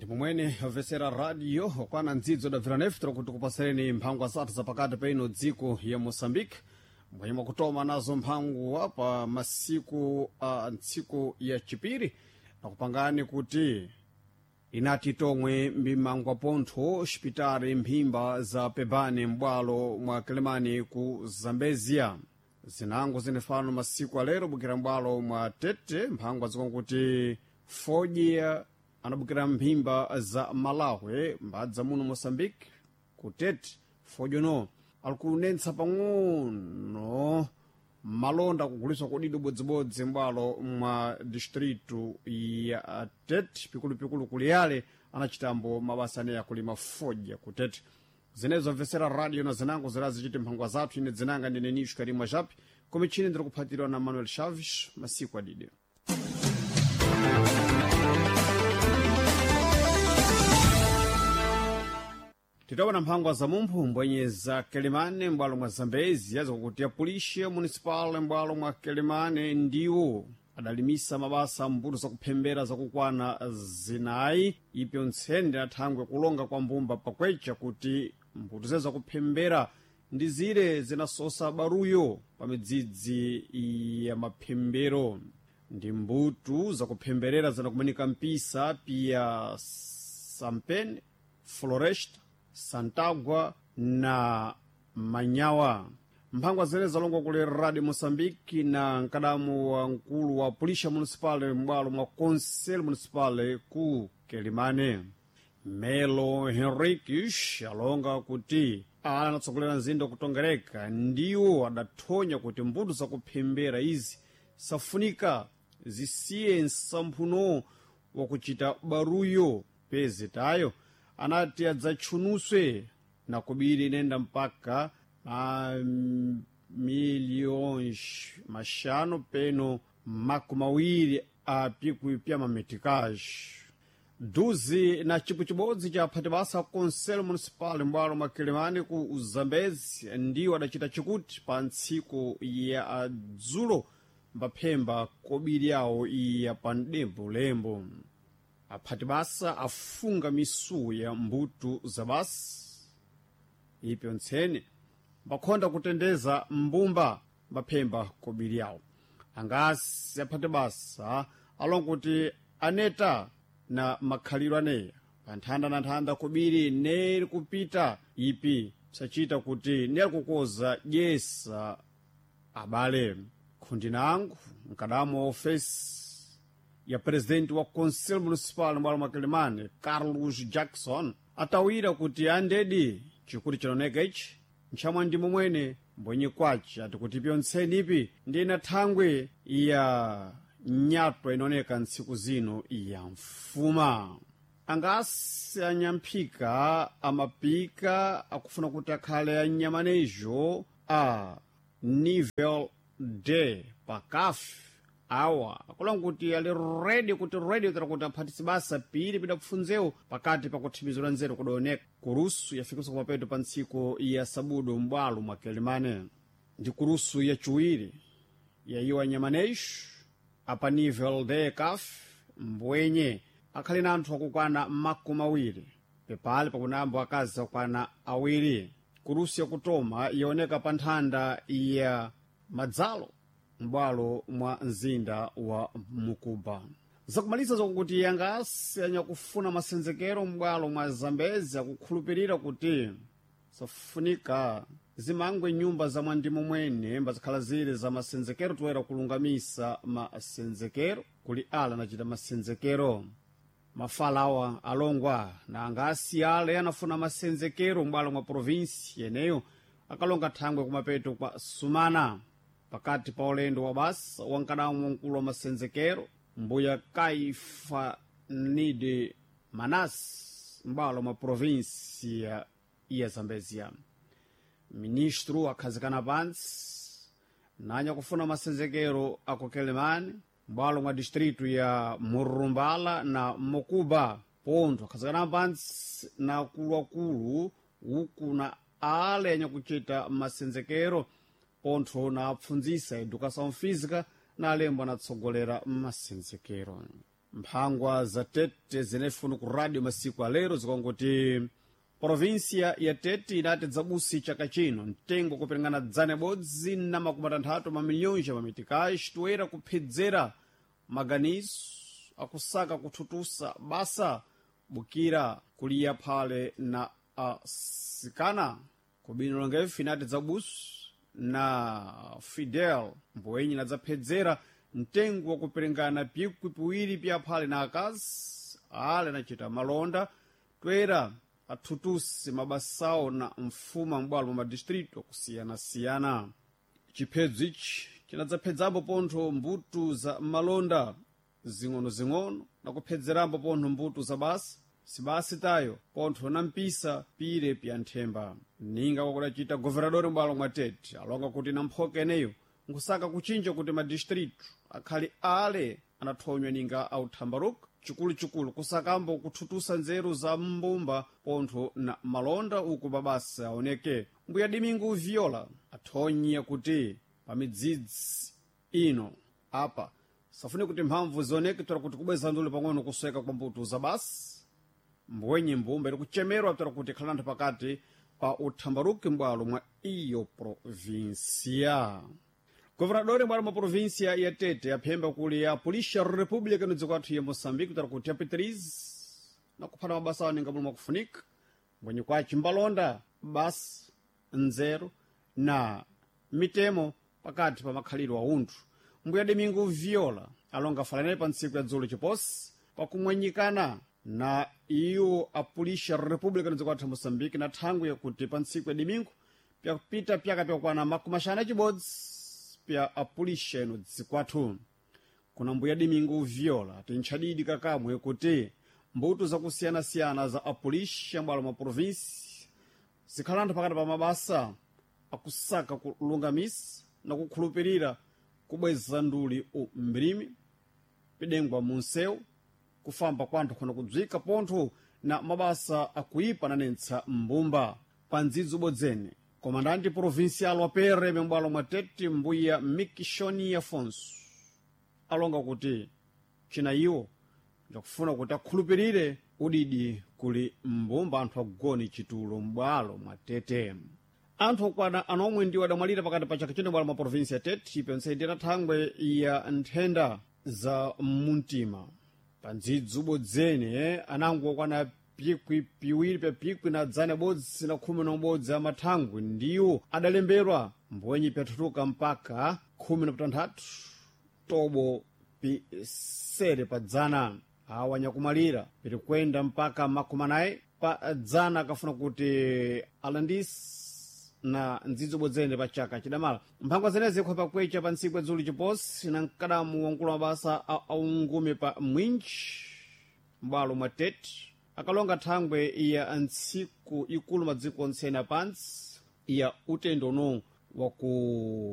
Ndimomwene obvesera radio okwana ndzidzo dabvira nefutiro kuti kupasereni mphangwa zathu zapakati pa ino dziko ya Moçambique, mbwenye mwakutoma nazo mphangwa pa masiku a ntsiku ya chipiri, nakupangani kuti inati tomwe mbimangwa pontho xipitali mphimba za pebane m'bwalo mwa Kelemani ku Zambezia. Zinango zinefano masiku alero bukira m'bwalo mwa Tete, mphangwa zikonkuti fodya anabukira mphimba za Malawi mbadza muno Moçambique ku Tete. Fodya no alikunenetsa pang'ono malonda kuguliswa kudido bodzibodzi m'bwalo mwa distritu ya Tete, pikulupikulu kuliyale anachitambo mabasa aneya kulima fodya ku Tete. Zinezo mvesera radio na zinango zirazichiti mphangwa zathu. Ine dzinanga ndine Nisho Karimwa Japi, komichini ndiri kuphatirwa na Manuel Chaves. Masiku adide. Titawona mphangwa za mumphu mbwenye za Kelemane m'bwalo mwa Zambezi yazakuti ya polícia municipal m'bwalo mwa Kelemane ndiwo adalimisa mabasa mbuto zakuphembera zakukwana zinayi, ipyo ntsende athangwe kulonga kwa mbumba pakwecha kuti mbuto zeze zakuphembera ndi zire zinasosa baruyo pa midzidzi ya maphembero. Ndi mbuto zakuphemberera zinakumanika mpisa pia Sampene, Floresta, Santagua na Manyawa. Mphangwa zene zalongwa kuli Radio Moçambique na mkadamu wa mkulu wa Polícia Municipal m'bwalo mwa Conselho Municipal ku Quelimane, Melo Henriques, alonga kuti ala anatsogolera mzinda kutongereka ndiwo adathonya kuti mbuto zakuphembera izi safunika zisiye nsamphuno wakuchita baruyo pezitayo anati adzatchunuswe na kubiri inenda mpaka mamiliyons maxanu peno makumi awiri a pikwi pya mametikaji. Duzi na cipo cibodzi cha aphati basa Conselho Municipal m'bwalo mwa Quelimane ku Zambezi ndiwo adacita chikuti pa ntsiku ya dzulo mbaphemba kobiri yawo iya pa mdembo-lembo. Aphati basa afunga misuwu ya mbuto za basa ipyo ntsene mbakhonda kutendeza mbumba mbaphemba kobiri yawo. Angasi aphati basa alonga kuti aneta na makhalidwe aneya pa nthanda na nthanda kobiri neri kupita ipi sachita kuti neri kukoza dyesa abale. Khundi nangu mkadamu wa ofesi ya presidente wa Conselho Municipal m'bwalo mwa Quelimane, Carlos Jackson, atawira kuti andedi chikuti chinaoneka ichi ntchamwa ndi momwene mbwenye kwace ati kuti pyontseni ipi ndi ina thangwe ya nyatwa inaoneka ntsiku zino ya mfuma. Angasi anyamphika amapika akufuna kuti akhale anyamanejo a nível D pakafe awa akulonga kuti ali redi kuti redi tera kuti aphatise basa pili pidapfunzewo pakati pakuthimizira nzeru kudaoneka. Kurusu yafikiso kumapeto pa ntsiku ya sabudu m'bwalo mwa Quelimane ndi kurusu yaciwiri yayiwa nyamaneixo apa nível D caf mbwenye akhali na anthu akukwana 20, pepali pakunambo akazi akukwana 2. Kurusu yakutoma yaoneka pa nthanda ya madzalo m'bwalo mwa mzinda wa Mukuba. Zakumaliza zakuti yangasi anyakufuna masenzekero m'bwalo mwa Zambezi akukhulupirira kuti safunika zimangwe nyumba za mwandimo mwene mbazikhala zili za masenzekero toera kulungamisa masenzekero kuli ala anachita masenzekero. Mafalawa alongwa na angasi ale anafuna masenzekero m'bwalo mwa provinsi yeneyo akalonga thangwe kumapeto kwa sumana pakati pa ulendo wa basa wankadamu mkulu wa masenzekero mbuya Kaifa Nide Manas m'bwalo mwa provinsi ya Zambezia. Ministro akhazikana pantsi nanya kufuna masenzekero aku Quelimane m'bwalo mwa distritu ya Murumbala na Mokuba pontho akhazikana pantsi na akuluakulu uku na ale anyakuchita masenzekero pontho na apfundzisa educação física na alembo anatsogolera masenzekero. Mphangwa za Tete zinefunu ku radio masiku alero zikongoti provinsia ya Tete inati dzabusi chaka chino mtengo kuperingana 160 mamiliyoni mamitikayi toera kuphedzera maganizo akusaka kuthutusa basa bukira kuliya phale na asikana kubino longefu inati dzabusu na Fidel mbowenyi nadzaphedzera mtengo wakuperingana pikwi piwiri pya phale na akazi ale anachita malonda toera athutusi mabasawo na mfuma m'bwalo mwa madistritu akusiyana-siyana. Chiphedzo ichi chinadzaphedzapo pontho mbuto za malonda zing'ono-zing'ono na kuphedzerambo pontho mbuto za basa sibasi tayo pontho na mpisa pire pya nthemba. Ninga kwakudacita governadori m'bwalo mwa Tete alonga kuti na mphoka eneyo nkusaka kuchinja kuti madistritu akhali ale anathonywa ninga authambaruka chikuluchikulu kusakambo kuthutusa nzeru za mbumba pontho na malonda uku mabasa aoneke. Mbuya Domingo Viola athonye kuti pa midzidzi ino apa safune kuti mphamvu zioneke toera kuti kubweza ndule pang'ono kusweka kwa mbuto za basi mbwenye mbumba iri kuchemerwa toera kuti ikhala anthu pakati pa uthambaruki m'bwalo mwa iyo provinsia. Governadori m'bwalo mwa provinsia ya Tete aphemba kuli ya Polícia República no dziko athu ya Moçambique toera kuti apitirize na kuphata mabasa awo ninga mulo mwakufunika mbwenye kwaci mbalonda basi nzeru na mitemo pakati pa makhalidwe a unthu. Mbuya Domingo Viola alonga falanele pa ntsiku ya dzulo chiposi pakumwenyikana na iwo a Polícia República no dziko athu ya Moçambique na thangwi yakuti pa ntsiku ya domingo pyakupita pyaka pyakwana 51 pya apulisha ino dziko athu. Kuna mbuya Domingo Viola tintchadidi kakamwe kuti mbuto zakusiyana-siyana za apulisha m'bwalo mwa provinsi zikhala anthu pakati pa mabasa akusaka kulungamisa na kukhulupirira kubweza nduli umbilimi pidengwa munsewu kufamba kwanthu khona kudzwika pontho na mabasa akuipa nanentsa mbumba pa ndzidzi ubodzene. Komandante provincial wa PRM m'bwalo mwa Tete mbuya Mikishoni Afonso alonga kuti china iwo ndakufuna kuti akhulupirire udidi kuli mbumba anthu agone chitulo m'bwalo mwa Tete. Anthu okwana anomwe ndiwo adamwalira pakati pa chaka chino m'bwalo mwa provinsi ya Tete ipense ndi thangwe ya nthenda za mumtima. Pa ndzidzi ubodzene anango okwana pikwi piwiri pya pikwi na 111 amathangwi ndiwo adalemberwa mbwenye pyathuthuka mpaka 16 tobo pisere pa dzana. Awa nyakumalira pirikwenda mpaka 40 pa dzana akafuna kuti alandisi na ndzidzi ubodzene pa chaka chidamala. Mphangwa zenezi ikhopa kwecha pa ntsiku ya dzulo chiposi na mkadamu wankulu mabasa aungume pa mwinji m'bwalo mwa Tete akalonga thangwe ya ntsiku ikulu madziko onse ena pansi ya utendo uno waku